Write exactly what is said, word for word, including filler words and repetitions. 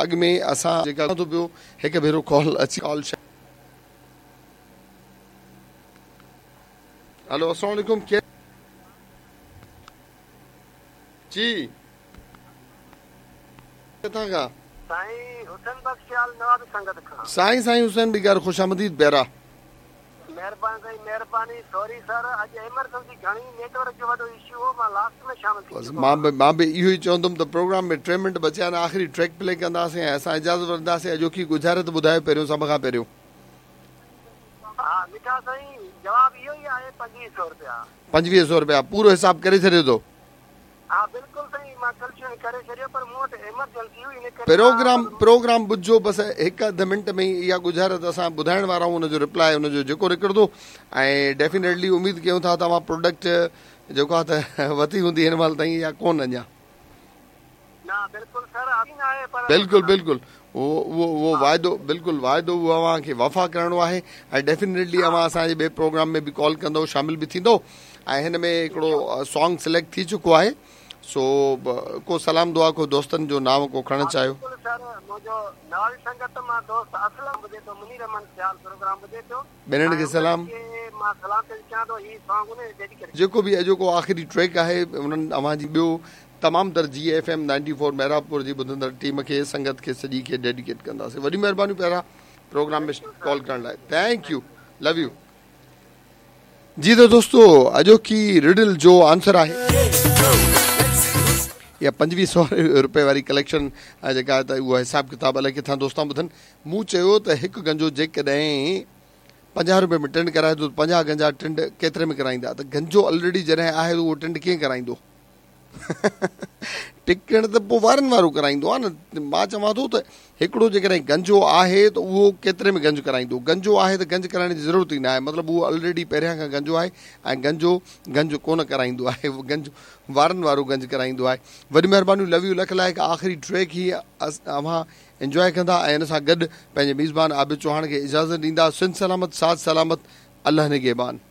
اڳ ۾ اسان جيڪا ٿو پيو هڪ ڀيرو ڪال اچي ڪال. هلو السلام عليڪم، ڪير؟ جي ڪٿان کان؟ سائين حسين بخش سيال، نوابي سنگت کان. سائين سائين حسين بگار، خوش آمديد پيارا. مهرباني سائين، مهرباني. سوري سر، اڄ ايمرجنسي گهڻي، نيٽ ورڪ جو وڏو اشو هو، مان لاسٽ ۾ شامل ٿي بس چڪو مان به آهيان. مان به اهو ئي چوندم ته پروگرام ۾ ٽي منٽ بچيا آهن، آخري ٽريڪ پلي ڪنداسين ۽ اسان اجازت وٺنداسين. اڄوڪي ڳجهارت ٻڌايو پهريون، سڀ کان پهريون. ها مٺا سائين، جواب اهو ئي آهي، پنجويهه سؤ رپيا. پنجويهه سؤ رپيا، پورو حساب ڪري ڇڏيو تو؟ ها بلڪل سائين، مان ڪلچن ڪري ڇڏيو، پر مون وٽ ايمرجنسي هئي، ان ڪري پروگرام مان پروگرام ٻڌجو. بس هڪ اڌ منٽ ۾ ئي اها ڳجهارت اسان ٻڌائڻ وارا آهيون، ان جو رپلاء ان جو جيڪو نڪرندو ۽ ڊيفينيٽلي اميد ڪيون ٿا توهان پروڊڪٽ جيڪو آهي ته ورتي هوندي هن مهل تائين يا ڪونه اڃا؟ نه، بلڪل سر، نه آهي پر بلڪل بلڪل، اهو اهو اهو واعدو، بلڪل واعدو اهو اوهان کي وفا ڪرڻو آهي ۽ ڊيفينيٽلي اوهان اسان جي ٻئي پروگرام ۾ به ڪال ڪندو، شامل به ٿيندو ۽ هن ۾ هڪڙو سانگ سليڪٽ ٿي چڪو آهي، سو ڪو سلام دعا، ڪو دوستن جو نام ڪو کڻڻ ها چاهيو؟ بلڪل سر، منهنجو نوابي سنگت مان دوست اسلم ٻڌي ٿو، منير احمد سيال پروگرام ٻڌي ٿو. ٻنهن ۽ کي انهن سلام. کي مان سلام پيش ڪيان ٿو، هي سانگ ان ڊيڊيڪيٽ. جيڪو به اڄوڪو آخري ٽريڪ آهي، انهن اوهان جي ٻيو تمام تر جي F M ninety four Mehrabpur جي ٻڌندڙ ٽيم کي، سنگت کي، سڄي کي ڊيڊيڪيٽ ڪنداسين. وڏي مهرباني پيارا پروگرام ۾ ڪال ڪرڻ لاءِ، thank you, love you. جي ته دوستو، اڄوڪي رڊل جو آنسر آهي يا پنجويهه سؤ رپئي واري ڪليڪشن جيڪا آهي ته اهو حساب ڪتاب الائي ڪٿان دوستان ٻڌن. مون چيو ته هڪ گنجو جيڪڏهن پنجاهه رپئي ۾ ٽنڊ ڪرائي ٿو ته پنجاهه گنجا ٽنڊ ڪيتري ۾ ڪرائيندا؟ ته گنجو آلريڊي جڏهن آهي ته اهو ٽنڊ ڪيئن ڪرائيندو؟ ٽڪڻ ته پوءِ وارن وارو ڪرائيندو آهي نه. مان چوان ٿو ته هڪڙو جيڪڏهن گنجو آهي ته اهو ڪيتري ۾ گنج ڪرائيندو؟ گنجو آهي ته گنج ڪرائڻ جي ضرورت ئي نه آهي، مطلب اهو آلريڊي پهريان کان گنجو آهي ۽ گنجو گنج ڪونه ڪرائيندو آهي، گنج وارن وارو گنج ڪرائيندو آهي. وڏي مهرباني، لو you, lakh لائق. آخري ٽريڪ هي اوهان انجواءِ ڪندا ۽ هن سان گڏ پنهنجي ميزبان عابد چوهاڻ کي اجازت ڏيندا. سنڌ سلامت، ساٿ سلامت، الله نگهبان.